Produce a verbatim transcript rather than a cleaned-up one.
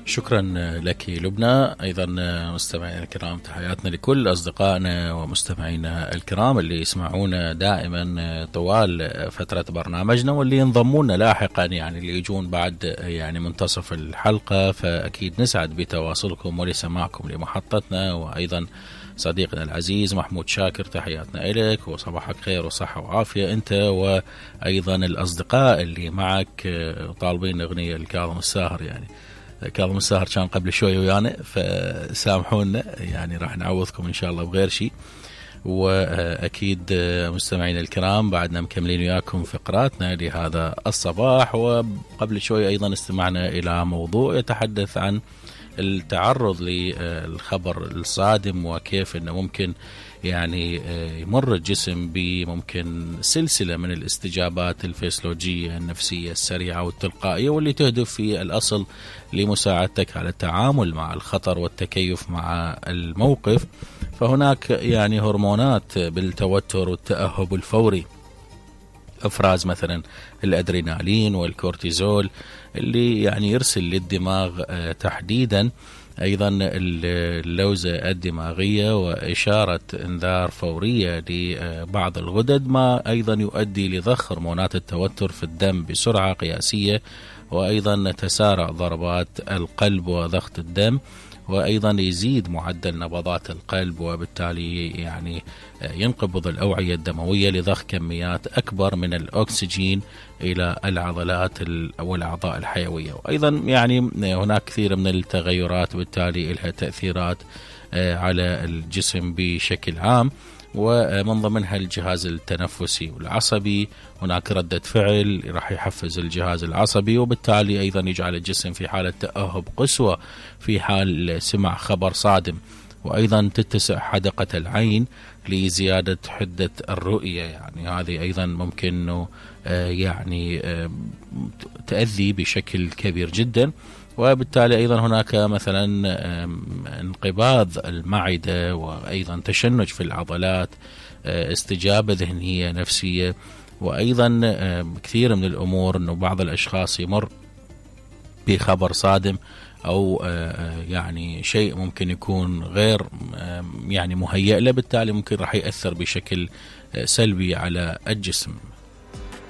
شكرا لك لبنى. أيضا مستمعينا الكرام، تحياتنا لكل أصدقائنا ومستمعينا الكرام اللي يسمعونا دائما طوال فترة برنامجنا واللي ينضمونا لاحقا، يعني اللي يجون بعد يعني منتصف الحلقة. فأكيد نسعد بتواصلكم ولسماعكم لمحطتنا. وأيضا صديقنا العزيز محمود شاكر، تحياتنا إليك وصباحك خير وصحة وعافية أنت وأيضا الأصدقاء اللي معك طالبين أغنية الكاظم الساهر. يعني كاظم الساهر كان قبل شوي ويانا، فسامحونا يعني راح نعوضكم إن شاء الله بغير شيء. وأكيد مستمعين الكرام بعدنا مكملين وياكم فقراتنا لهذا الصباح. وقبل شوي أيضا استمعنا إلى موضوع يتحدث عن التعرض للخبر الصادم، وكيف أنه ممكن يعني يمر الجسم بممكن سلسلة من الاستجابات الفسيولوجية النفسية السريعة والتلقائية، واللي تهدف في الأصل لمساعدتك على التعامل مع الخطر والتكيف مع الموقف. فهناك يعني هرمونات بالتوتر والتأهب الفوري، افراز مثلا الادرينالين والكورتيزول اللي يعني يرسل للدماغ تحديدا ايضا اللوزة الدماغية واشارة انذار فورية لبعض الغدد، ما ايضا يؤدي لضخ هرمونات التوتر في الدم بسرعة قياسية، وايضا تسارع ضربات القلب وضغط الدم، وأيضا يزيد معدل نبضات القلب، وبالتالي يعني ينقبض الأوعية الدموية لضخ كميات أكبر من الأكسجين إلى العضلات والأعضاء الحيوية. وأيضا يعني هناك كثير من التغيرات بالتالي لها تأثيرات على الجسم بشكل عام، ومن ضمنها الجهاز التنفسي والعصبي. هناك ردة فعل راح يحفز الجهاز العصبي، وبالتالي أيضا يجعل الجسم في حالة تأهب قسوة في حال سمع خبر صادم. وأيضا تتسع حدقة العين لزيادة حدة الرؤية، يعني هذه أيضا ممكن أنه يعني تأذي بشكل كبير جدا. وبالتالي أيضا هناك مثلا انقباض المعدة، وأيضا تشنج في العضلات، استجابة ذهنية نفسية. وأيضا كثير من الأمور أنه بعض الأشخاص يمر بخبر صادم أو يعني شيء ممكن يكون غير يعني مهيئ له، بالتالي ممكن راح يأثر بشكل سلبي على الجسم.